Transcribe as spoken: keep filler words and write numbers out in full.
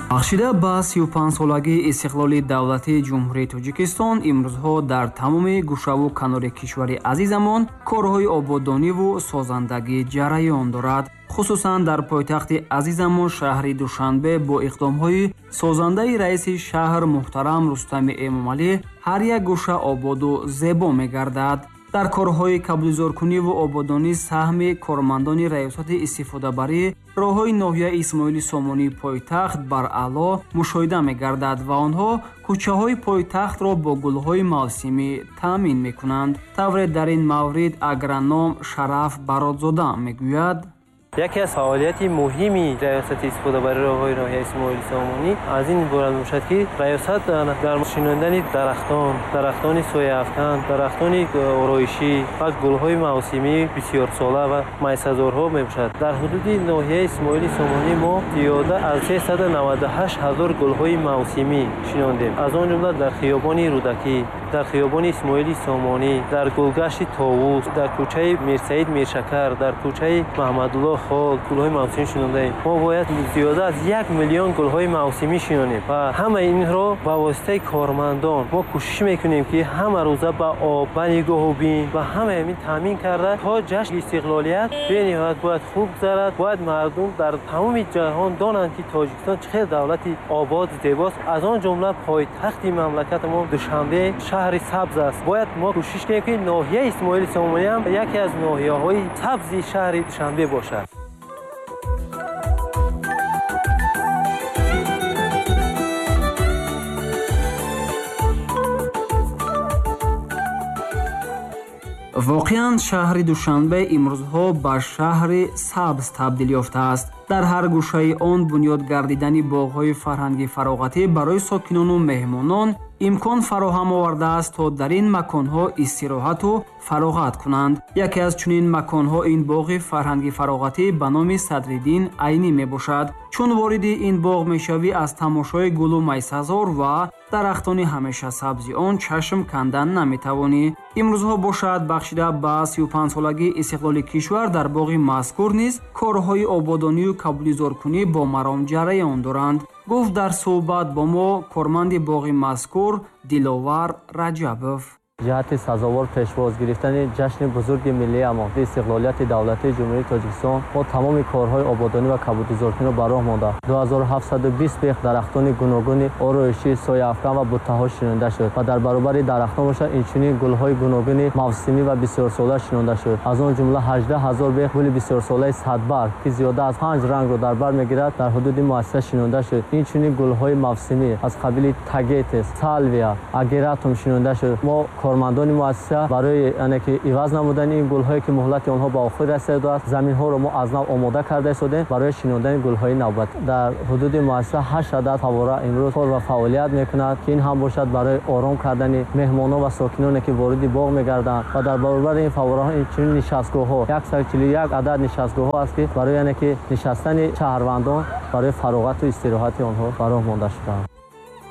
Бахшида ба сию панҷсолагии истиқлоли давлатии Ҷумҳурии Тоҷикистон имрӯзҳо дар тамоми гӯшаву канори кишвари азизамон корҳои ободониву созандагӣ ҷараён дорад. Хусусан дар пойтахти азизамон шаҳри Душанбе бо иқдомҳои созандаи раиси шаҳр муҳтарам Рустами Эмомалӣ ҳар як гӯша ободу зебо мегардад. Дар корҳои кабудизоркуниву ободонӣ саҳми кормандони раёсати истифодабарӣ роҳҳои ноҳияи Исмоили Сомонии пойтахт бараъло мушоҳида мегардад ва онҳо кӯчаҳои пойтахтро бо гулҳои мавсимӣ таъмин мекунанд. Тавре дар ин маврид агроном Шараф Баротзода мегӯяд: яке аз фаъолияти муҳими раёсати истифодабарии роҳҳои ноҳияи Исмоили Сомонӣ аз ин иборат мебошад, ки раёсат дар шинондани дарахтон, дарахтони сояафкан, дарахтони ороишӣ ва гулҳои мавсимӣ бисёрсола ва майсазорҳо мебошад. Дар ҳудуди ноҳияи Исмоили Сомонӣ мо зиёда аз сесаду наваду ҳашт ҳазор гулҳои мавсимӣ шинондем. Аз он ҷумла дар хиёбони Рӯдакӣ, дар хиёбони Исмоили Сомонӣ, дар гулгашти Товус, дар кӯчаи Мирсаид Миршакар, дар кӯчаи Маҳмадулло хол гулҳои мавсимӣ шинондаем. Мо бояд зиёда аз як миллион гулҳои мавсимӣ шинонем ва ҳамаи инро ба воситаи кормандон мо кӯшиш мекунем, ки ҳама рӯза ба об, ба нигоҳубин ва ҳамаи ин таъмин карда то ҷашни истиқлолият бениҳоят бояд хуб гузарад. Бояд мардум дар тамоми ҷаҳон донанд, ки Тоҷикистон чӣ қадар давлати обод зебост. Аз он ҷумла пойтахти мамлакатамон Душанбе шаҳри сабз аст. Бояд мо кӯшиш кунем, ки ноҳияи Исмоили Сомонӣ ҳам яке аз ноҳияҳои сабзи шаҳри Душанбе бошад. Воқеан шаҳри Душанбе имрӯзҳо ба шаҳри сабз табдил ёфтааст. Дар ҳар гӯшаи он бунёд гардидани боғҳои фарҳанги фароғатӣ барои сокинону меҳмонон имкон фароҳам овардааст, то дар ин маконҳо истироҳату фароғат кунанд. Яке аз чунин маконҳо ин боғи фарҳанги фароғатӣ ба номи Садриддин Айнӣ мебошад. Чун вориди ин боғ мешавӣ, аз тамошои гулу майсазор ва дарахтони ҳамешасабзи он чашм кандан наметавонӣ. Имрӯзҳо бошад, бахшида ба сию панҷсолагии истиқлоли кишвар дар боғи мазкур низ корҳои ободонию кабудизоркунӣ бо маром ҷараён доранд. Гуфт дар суҳбат бо мо корманди боғи мазкур Диловар Раҷабов. Ҷиҳати сазовор пешвоз гирифтани ҷашни бузурги миллиамон истиқлолияти давлатии Ҷумҳурии Тоҷикистон мо тамоми корҳои ободонӣ ва кабудизоркуниро ба роҳ монда. ду ҳазору ҳафтсаду бист бех дарахтони гуногуни ороишӣ, сояафкан ва буттаҳо шинонда шуд ва дар баробари дарахтон бошад инчунин гулҳои гуногуни мавсимӣ ва бисёрсола шинонда шуд. Аз он ҷумла ҳаждаҳ ҳазор бех гули бисёрсолаи садбарг, ки зиёда аз панҷ рангро дар бар мегирад, дар ҳудуди муассиса шинонда шуд. Инчунин гулҳои мавсимӣ аз қабили тагетес, салвия, агератум шинонда шуд. Мо кормандони муассиса барои яъне ки иваз намудани ин гулҳое, ки муҳлати онҳо ба охир расидааст, заминҳоро мо аз нав омода карда истодем барои шинондани гулҳои навбат. Дар ҳудуди муассиса ҳашт адад фаввора имрӯз кор ва фаъолият мекунад, ки ин ҳам бошад барои ором кардани меҳмонон ва сокиноне, ки вориди боғ мегарданд. Ва дар баробари ин фаввораҳо инчунин нишастгоҳҳо, яксаду чилу як адад нишастгоҳҳо аст, ки барои яъне ки нишастани шаҳрвандон барои фароғату истироҳати онҳо ба роҳ монда шудаанд.